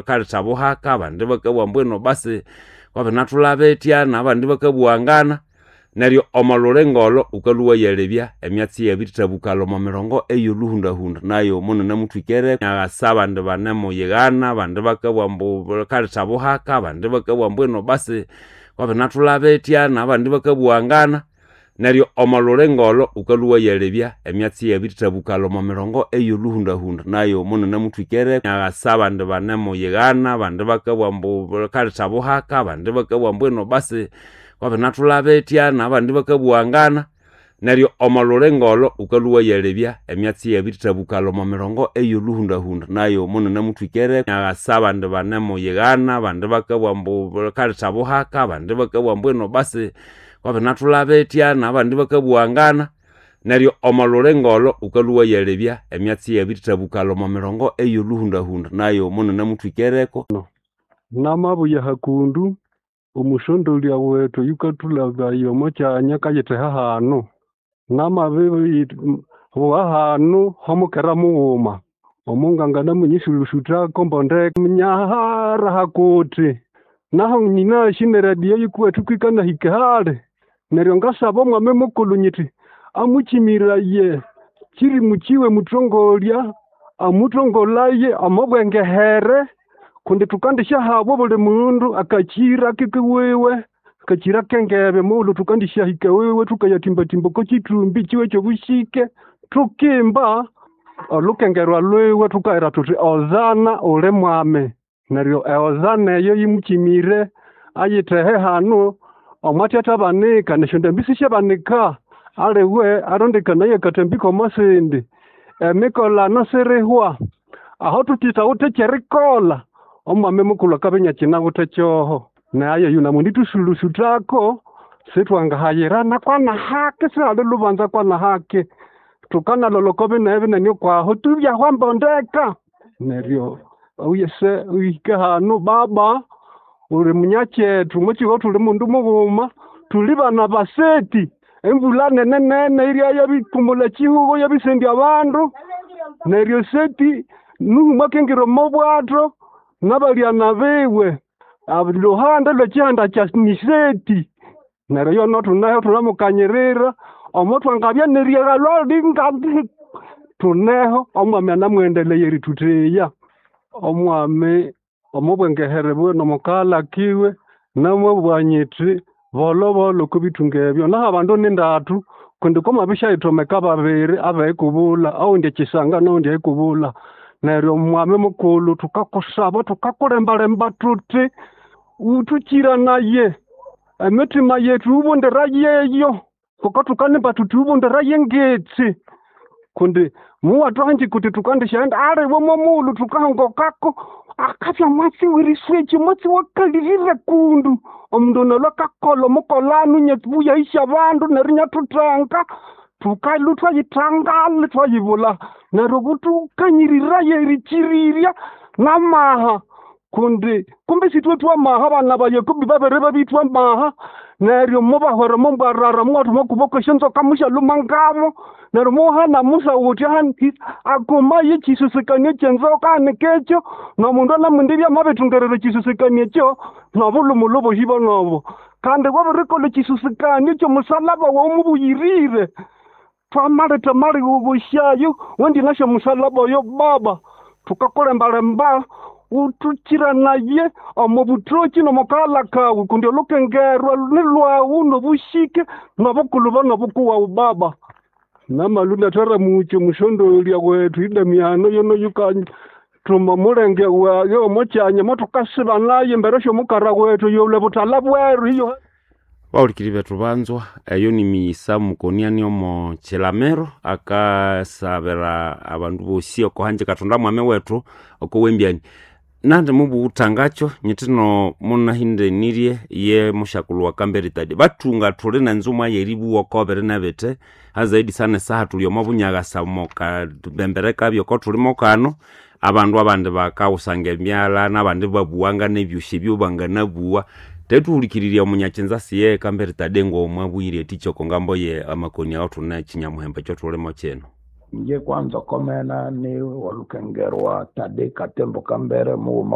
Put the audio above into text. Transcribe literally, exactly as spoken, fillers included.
Kaletha buhaka, abandi bakabugha ambu basi kwabinathulha n'abandi bakabughangana. Neryo omo lulinga olho wukalhwa iwayalebya emyatsi iyabirithabukalha omo mirongo ey'olhuhundahunda nayo muninamuthwikere aghasa abandi banemuyighana, abandi bakabugha ambu kaletha buhaka, abandi bakabugha ambu basi kwabinathulha n'abandi bakabughangana. Neryo omo lulinga olho wukalhwa iwayalebya emyatsi iyabirithabukalha omo mirongo ey'olhuhundahunda nayo muninamuthwikere aghasa abandi banemuyighana, abandi bakabugha ambu kaletha buhaka, abandi bakabugha ambu basi kwabinathulha n'abandi bakabughangana. Neryo omo lulinga olho wukalhwa iwayalebya emyatsi iyabirithabukalha omo mirongo ey'olhuhundahunda nayo muninamuthwikere aghasa abandi banemuyighana, abandi bakabugha ambu kaletha buhaka, abandi bakabugha ambu basi kwabinathulha n'abandi bakabughangana. Neryo omo lulinga olho wukalhwa iwayalebya emyatsi iyabirithabukalha omo mirongo ey'olhuhundahunda nayo muninamuthwikereko. Namabuya hakundu omusondolya wethu oyukathulhabaya omo kyanya akayitheha hanu. Namabibuwa hanu homukera mughuma omunganganamunyisulusuthako mbondeka nyahara hakuthi naho nyinasi n'eradio yikuwethu kwikanahika hali. Neryo ngasaba omwami mukulhu nyithi amukyimiraye kyirimu kyiwe muthongolya amuthongolaye omo bwengehere kundi thukandisyahabwa obuli mundu akakyira kikiwiwe akakyira k'engebe mughulhu thukandisyahika ewiwe thukayathimbathimba oko kyithumbi kyiwe ky'obushike thukimba olukengerwa lwiwe thukahera thuthi Hosana uli mwami. Neryo ehosana eyo yimukyimire ayithehe hanu omwathyathyabanika nesyondambi sisyabanika aliwe arondekanaye akatambi k'omo sindi. Emikolano sirihwa aho thuthithawithe ky'erikolha omwami mukulhu akabya inyakyinawithe kyoho. Nayo yunamwendithusulusutako sithwangahayirana kwanahaki sihali lubanza kwanahaki thukanalolha oko binene binene okwaho tubyahwa mbondeka. Neryo oyese ohike hanu baba uli munyakyethu omwakyihugho thuli mundu mughuma thuli bana baseti embulha nene nene irya yabikumulha ekyihugho yabisendya abandu. Neryo Seti Nuhu mwakingira omo bwatho n'abalyana biwe luhande lw'ekyihanda kya Niseti. Neryo yono thuneho thunamukanyirira omo thwangabya n'eryaghalwa linga thuneho omwami anamughendeleye erithutheya. Omwami omo bwengehere bwiwe n'omukaghalha kiwe namabugha nyithi bolhobolho oko bithunga ebyo naho abandu nindathu kundi kwamabisyayithomeka babiri aberikubulha owundi ekyisanga n'owundi erikubulha. Neryo omwami mukulhu thukakusaba thukakulembalemba thuthi wuthukyiranaye emithima yethu wubundirayeyo ngoko thukanimba thuthi wubundiraye engetsi kundi muwathuhanjika wuthi thukandisyaghenda aliwe mwomughulhu thukahongokako akabya mwatsi w'eriswekya omwatsi wakalirire kundu omundu ono alhwe akakolha omukolano inyabuyahisya abandu neryo inyathuthenga thukalhwa ithwayithangala ithwayibulha. Neryo buthukanyiriraye erikyirirya n'amaha kundi kumbi sithwe thwamaha abana ba Yakobo babiri babithwa amaha neryo mubahwera omo mbwarara muwathuma okuboko esyonzoka musyalhuma ngabo. Neryo muhana Musa wuthi akumaye ekyisusikanio ky'enzoka hanika ekyo n'omundu anamwendibya amabithungerera ekyisusikanio ekyo n'obulhumulhu obosi bonobo. Kandi wabirikolha ekyisusikanio ky'omusalaba wawu mubuyirire thwamaletha amaligho wendinasya omusalaba oyo baba thukakulembalemba wuthukyiranaye omo buthokyi n'omo kaghalha kawu kundi olukengerwa nilhwawu n'obushike n'obukulhuba n'obukuwawu baba. Namalhwa inathara-mukya omusondolya wethu Idamiano yono yukathuma omulenge wayi omo kyanya omo thukasiba naye embere sy'omukara wethu oyolhwa obuthalha bweru iyo. Bahulikiri bethu banzwa eyo ni miyisa mukoniani omo kilamiro akasabira abandu bosi oko hanji Kathonda mwami wethu oko wembyani nandi mubughutangakyo nyithino munahindenirye ye mushakulhu wa Kambere Tadi bathunga thuli nenzumwa yeribuwa oko biri nebithe hazaidi sana esaha thuli omo bunyaghasa omo kabembere kabyo oko thulimo kano abandu abandi bakawusanga emyalha n'abandi babuwanga n'ebyosi ebyo banganabuwa tethuhulikirirya omunyakyinza siye Kambere Tade ng'omwabwire eticha oko ngambo ye amakoni awo thune kyinyamuhemba ekyothulimo kino. Inje kwanza komena ni walukengerwa Tade Katembo Kambere mughuma.